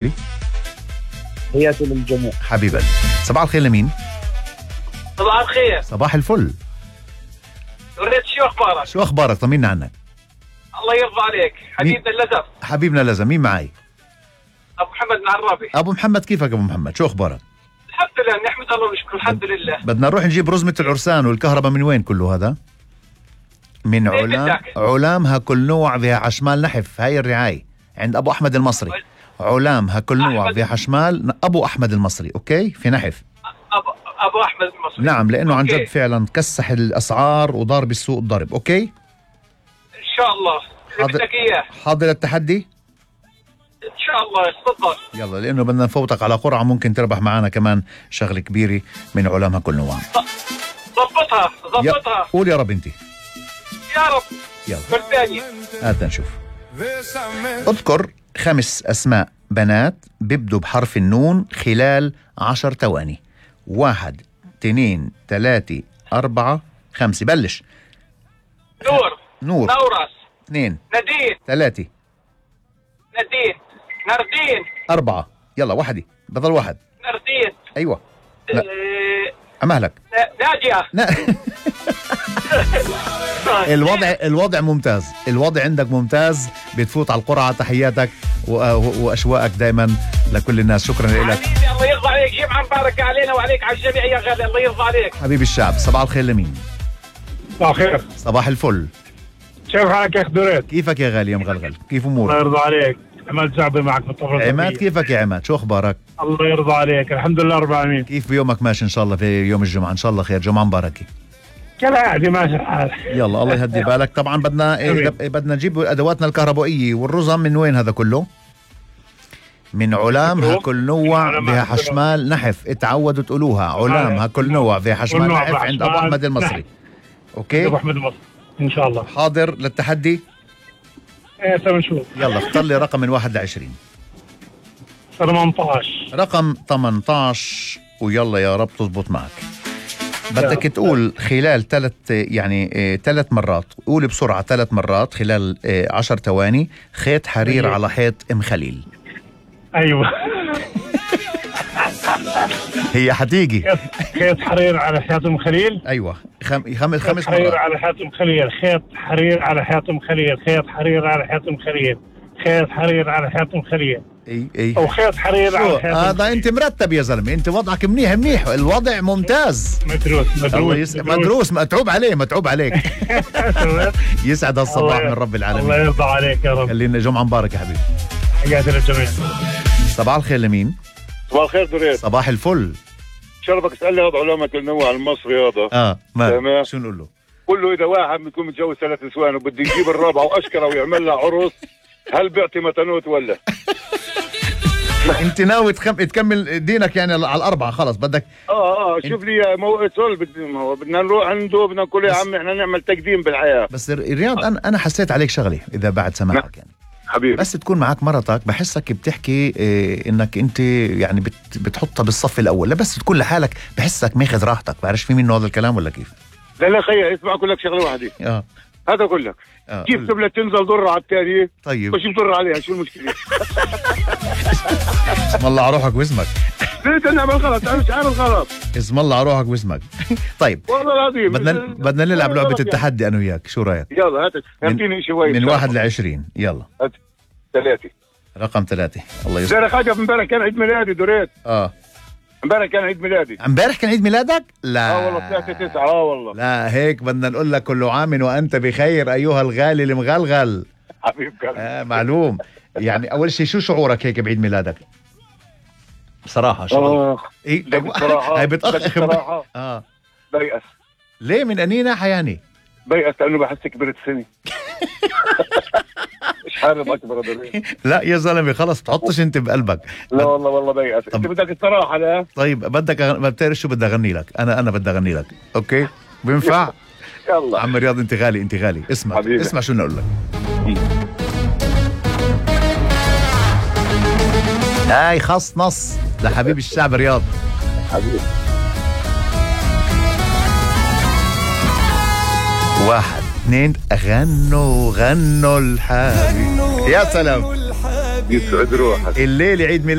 تحياتي للجميع حبيبي. صباح الخير لمين؟ صباح الخير. صباح الفل. وريت شو اخبارك؟ شو اخبارك؟ طمنا عنك. الله يرضى عليك حبيبنا اللزم. حبيبنا لازم. مين معي؟ ابو محمد من عرابي. ابو محمد، كيفك ابو محمد؟ شو اخبارك؟ الحمد لله، نحمد الله ونشكر. الحمد لله. بدنا نروح نجيب رزمة العرسان والكهرباء. من وين كله هذا؟ من علام هكل نوع فيها حشمال نحف. هاي الرعاية عند ابو احمد المصري. علام هكل نوع فيها حشمال ابو احمد المصري. اوكي، في نحف ابو احمد المصري. نعم، لانه عن جد فعلا كسح الاسعار وضارب السوق الضرب. اوكي ان شاء الله. بدك اياه. حاضر التحدي ان شاء الله. تفضل. يلا، لانه بدنا نفوتك على قرعه ممكن تربح معنا كمان شغله كبيره من علام هكل نوع. ضبطها. قول يا رب انت. يا رب. يلا بالثاني. هات نشوف. اذكر 5 أسماء بنات بيبدوا بحرف النون خلال 10 ثواني. 1 2 3 4 5. بلش. نور. نورس. 2 نادين. 3 نادين. ناردين. 4. يلا واحدة، بضل واحد. ناردين. أيوة. أمهلك. ناجية. الوضع ممتاز. الوضع عندك ممتاز. بتفوت على القرعة. تحياتك وأشواقك دائما لكل الناس. شكرا لك. حبيبي الله يرضى عليك. جمعة مباركة علينا وعليك على الجميع يا غالي. الله يرضى عليك حبيبي الشعب. صباح الخير لمين؟ صباح الخير. صباح الفل. كيف حالك يا خدوريت؟ كيفك يا غالي يا مغلغل؟ كيف أمورك؟ الله يرضى عليك. عماد زعبي معك من طرف عماد. كيفك يا عماد؟ شو أخبارك؟ الله يرضى عليك. الحمد لله رب العالمين. كيف بيومك ماشي؟ إن شاء الله في يوم الجمعة إن شاء الله خير. جمعة مباركة. كالعادة ماشي الحال. يلا الله يهدي بالك. طبعا بدنا نجيب أدواتنا الكهربائية والرزم. من وين هذا كله؟ من علام هكل نوع فيها حشمال نحف. اتعودوا تقولوها. علام هكل نوع فيها حشمال نحف عند أبو أحمد المصري. أوكي أبو أحمد المصري إن شاء الله. حاضر للتحدي. نشوف. يلا اختار لي رقم من 1 ل20. 18. رقم 18. ويلا يا رب تزبط معك. بدك تقول خلال 3 مرات. قول بسرعة 3 مرات خلال 10 ثواني. خيط حرير على حيط ام خليل. أيوة. هي حتيجي. خيط حرير على حيط ام خليل. أيوة. 5 مرات. حرير على حيط ام خليل. خيط حرير على حيط ام خليل. خيط حرير على حيط ام خليل. خيط حرير على حيط ام خليل. اي او خيط حرير على حيط. هذا انت مرتب يا زلمه. انت وضعك منيح. الوضع ممتاز. مدروس. متعوب عليك. يسعد الصباح من رب العالمين. الله يرضى عليك يا رب. خلينا جمعة مباركة يا حبيبي. حياتي للجميع. صباح الخير لمين؟ صباح الخير دريد. صباح الفل. شرفك اسألني هذا علامة النوع المصري هذا. ما شو نقول له؟ قل له إذا واحد بيكون متجوز 3 نسوان وبده يجيب الرابعة وأشكره ويعمل لها عرس، هل بيعطي متنوت ولا؟ انت ناوي تكمل دينك يعني على 4 خلص بدك. شوف لي موقع سول. بدنا نروح عنده. بدنا نقول يا عمي احنا نعمل تقديم بالحياة. بس رياض انا حسيت عليك شغلة اذا بعد سماحك يعني حبيبي. بس تكون معك مرتك بحسك بتحكي انك انت يعني بتحطها بالصف الاول. لا بس تكون لحالك بحسك ماخذ راحتك. بعرفش في منه هذا الكلام ولا كيف؟ لا خيي اسمع اقول لك شغله واحده. هذا اقول لك كيف تبلة تنزل ضرة على التانية. طيب وش بضر عليها؟ شو المشكلة؟ اسم الله على روحك واسمك. ليه نعمل غلط؟ انا مش عامل غلط. اسم الله على روحك واسمك. طيب والله العظيم بدنا نلعب لعبة التحدي انا وياك. شو رايك؟ يلا هات اعطيني شوي. من 1 ل20. يلا. 3. رقم 3. الله يسلمك. امبارح حاجة. امبارح كان عيد ميلادي دريت. امبارح كان عيد ميلادي. امبارح كان عيد ميلادك؟ لا والله 3/9. والله لا هيك بدنا نقول لك كل عام وانت بخير ايها الغالي المغلغل. حبيب قلبي. معلوم. يعني اول شيء شو شعورك هيك بعيد ميلادك؟ بصراحة شعور. بصراحة. هي بتأخر. بصراحة. بيأس. ليه من أني ناحية يعني؟ بيأس لأنه بحس كبرت سنة. مش حابب أكبر دريد. لا يا زلمة خلص تحطش أنت بقلبك. لا والله بيأس. أنت بدك الصراحة. لا طيب بدك ما بتعرف شو بدي أغني لك. أنا بدي أغني لك. أوكي بينفع؟ يلا عم رياض أنت غالي. اسمع شو نقول لك. هاي خص نص لحبيب الشعب رياض. حبيبي. 1 2 غنوا الحبيب. يا سلام. يسعد روحك. الليلة عيد ميلاد